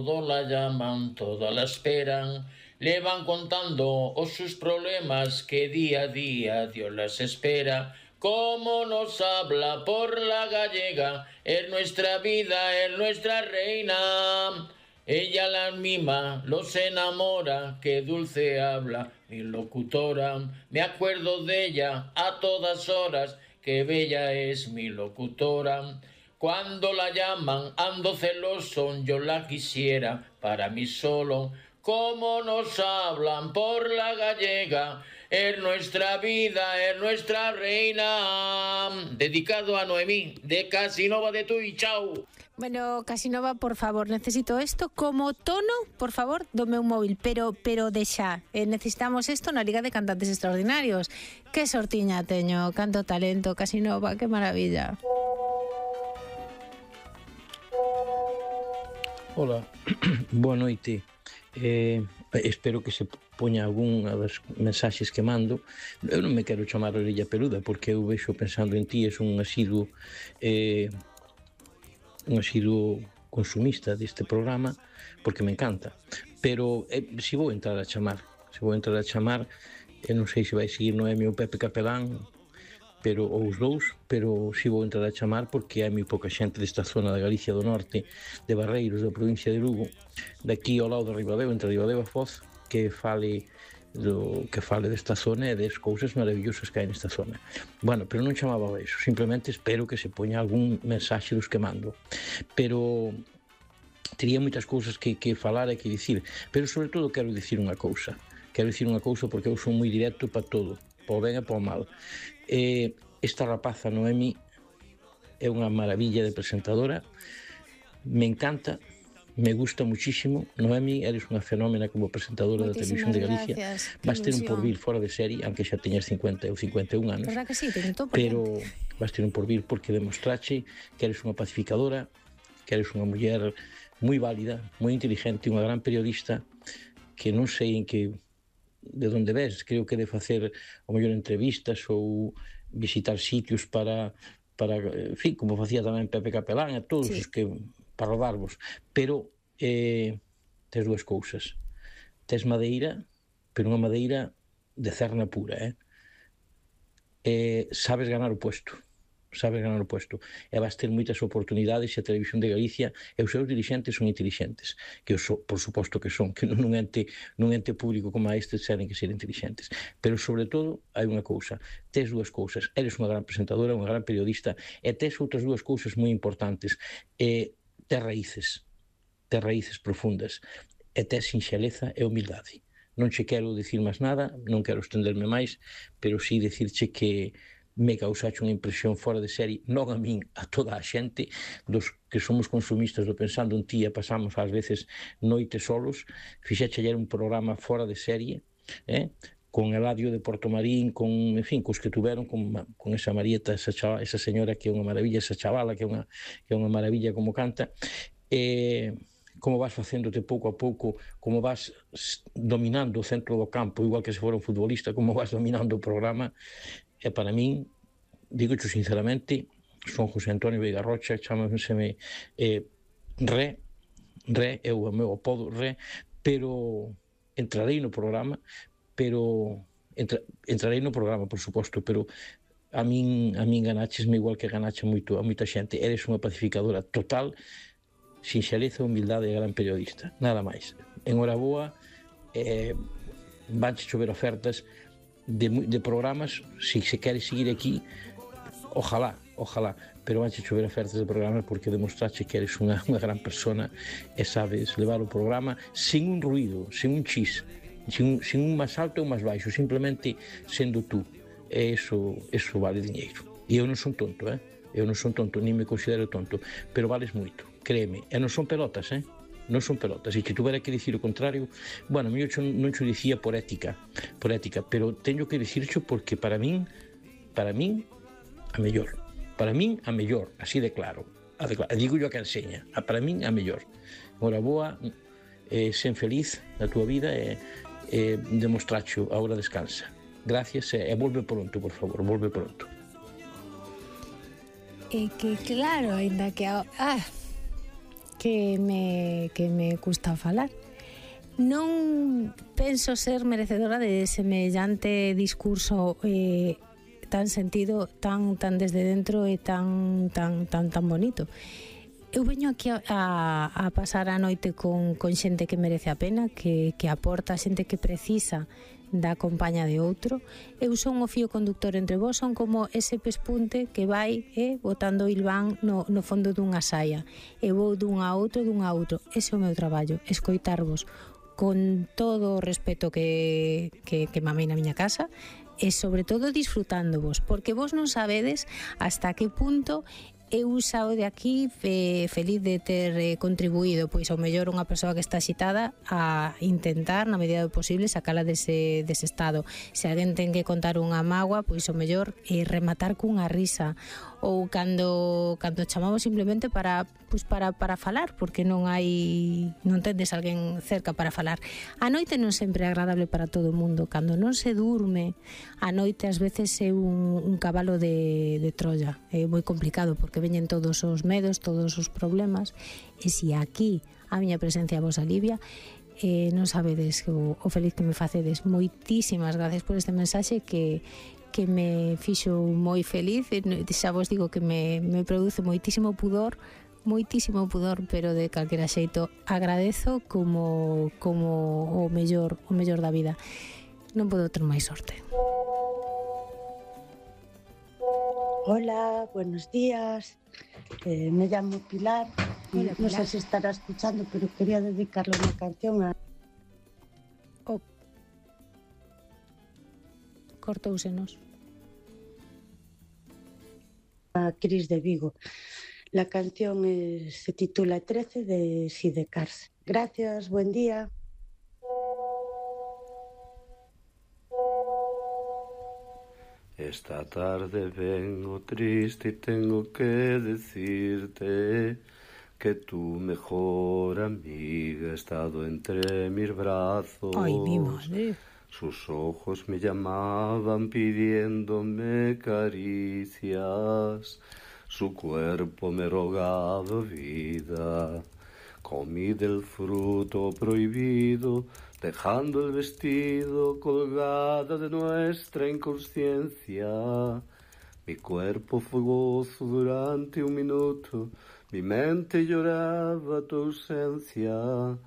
todo la llaman, toda la esperan. Le van contando sus problemas que día a día Dios las espera. Cómo nos habla por la gallega, es nuestra vida, es nuestra reina. Ella las mima, los enamora, qué dulce habla mi locutora. Me acuerdo de ella a todas horas, qué bella es mi locutora. Cuando la llaman ando celoso, yo la quisiera para mí solo. Cómo nos hablan por la gallega, es nuestra vida, es nuestra reina. Dedicado a Noemí, de Casinova de Tui, chao. Bueno, Casinova, por favor, necesito esto como tono, por favor, do meu móvil, pero de xa. Necesitamos isto na Liga de Cantantes Extraordinarios. Que sortiña teño, canto talento, Casinova, que maravilla. Hola, boa noite. Espero que se poña algunha das mensaxes que mando. Eu non me quero chamar orella peluda porque eu vexo pensando en ti, és un asiduo consumista deste programa porque me encanta, pero se vou entrar a chamar, eu non sei se vai seguir Noemi ou Pepe Capelán, ou os dous, pero si vou entrar a chamar porque hai moi pouca xente desta zona da Galicia do Norte, de Barreiros, da provincia de Lugo, daqui ao lado de Ribadeo, entre Ribadeo e Foz, que fale desta zona e das cousas maravillosas que hai nesta zona. Bueno, pero non chamaba a iso, simplemente espero que se poña algún mensaxe dos que mando. Pero tería moitas cousas que falar e que dicir, pero sobre todo quero dicir unha cousa porque eu son moi directo para todo, para o ben e para o mal. Esta rapaza Noemi é unha maravilla de presentadora, me encanta, me gusta muchísimo. Noemi, eres unha fenómena como presentadora da Televisión de Galicia. Vas ter un porvir fora de serie, aunque xa teñas 50 ou 51 anos, verdad que sí, pero vas ter un porvir porque demostrache que eres unha pacificadora, que eres unha muller moi válida, moi inteligente, unha gran periodista, que non sei en que de onde ves, creo que de facer o mellor entrevistas ou visitar sitios para en fin, como facía tamén Pepe Capelán e todos os que para rodarvos, pero tes dúas cousas, tes madeira, pero unha madeira de cerna pura, sabes ganar o puesto e vas ter moitas oportunidades e a Televisión de Galicia e os seus dirixentes son intelixentes, que por suposto que son, que nun ente público como este seren que ser intelixentes, pero sobre todo hai unha cousa, tes dúas cousas, eres unha gran presentadora, unha gran periodista e tes outras dúas cousas moi importantes, tes raíces profundas e tes sinxeleza e humildade. Non che quero dicir máis nada, non quero estenderme máis, pero sí dicirche que me causache unha impresión fora de serie, non a min, a toda a xente dos que somos consumistas do Pensando en Ti e pasamos ás veces noites solos, fixeche ayer un programa fora de serie, con Eladio de Portomarín, con, en fin, cos que tuveron, con esa Marieta, esa señora que é unha maravilla, esa chavala que é unha maravilla como canta, como vas facéndote pouco a pouco, como vas dominando o centro do campo, igual que se fora un futbolista, como vas dominando o programa. E para min, digocho sinceramente, son José Antonio Veiga Rocha, chámaseme Re, é o meu apodo, Re, pero entrarei no programa, por suposto, pero a min ganáchesme igual que ganache moito a moita xente. Eres unha pacificadora total, sinxeleza, humildade e gran periodista, nada máis. En hora boa, vanche chover ofertas de programas, se queres seguir aquí, ojalá, pero vanche chover ofertas de programas porque demostrache que eres unha gran persona e sabes levar o programa sin un ruido, sin un chis, sin un máis alto ou máis baixo, simplemente sendo tú. E eso vale diñeiro. E eu non son tonto, nin me considero tonto, pero vales moito, créeme, e non son pelotas, non son pelotas, e se tuvera que dicir o contrario, bueno, eu non xo dicía por ética, pero teño que dicirxo porque para min a mellor, así de claro, digo yo a que enseña, para min a mellor. Ora boa, sen feliz na túa vida e demostracho, agora descansa. Gracias e volve pronto, por favor, volve pronto. E que claro, ainda que que me custa falar. Non penso ser merecedora de semellante discurso tan sentido, tan desde dentro e tan bonito. Eu veño aquí a pasar a noite con xente que merece a pena, que aporta, xente que precisa da compaña de outro. Eu son o fío conductor entre vós, son como ese pespunte que vai botando o ilván no fondo dunha saia. Eu vou dun a outro. Ese é o meu traballo, escoitarvos con todo o respeto que mamei na miña casa, e sobre todo disfrutándovos, porque vos non sabedes hasta que punto eu saio de aquí feliz de ter contribuído, pois ao mellor unha persoa que está axitada, a intentar na medida do posible sacala dese estado. Se alguén ten que contar unha mágoa, pois ao mellor rematar cunha risa, ou cando chamamos simplemente para falar, porque non tendes alguén cerca para falar. A noite non sempre é agradable para todo o mundo. Cando non se durme, a noite ás veces é un cabalo de Troia. É moi complicado porque veñen todos os medos, todos os problemas, e se aquí a miña presencia vos alivia, non sabedes o feliz que me facedes. Moitísimas gracias por este mensaxe que me fixo moi feliz. Xa vos digo que me produce moitísimo pudor, pero de calquera xeito agradezo como o mellor da vida. Non podo ter máis sorte. Hola, buenos días. Me llamo Pilar. Hola, no Pilar. sé si estará escuchando, pero quería dedicarle una canción a Cortóusenos. Cris de Vigo. La canción se titula 13 de Sidecars. Gracias, buen día. Esta tarde vengo triste y tengo que decirte que tu mejor amiga ha estado entre mis brazos. Ay, mi madre. Sus ojos me llamaban pidiéndome caricias, su cuerpo me rogaba vida. Comí del fruto prohibido, dejando el vestido colgado de nuestra inconsciencia. Mi cuerpo fue gozo durante un minuto, mi mente lloraba tu ausencia.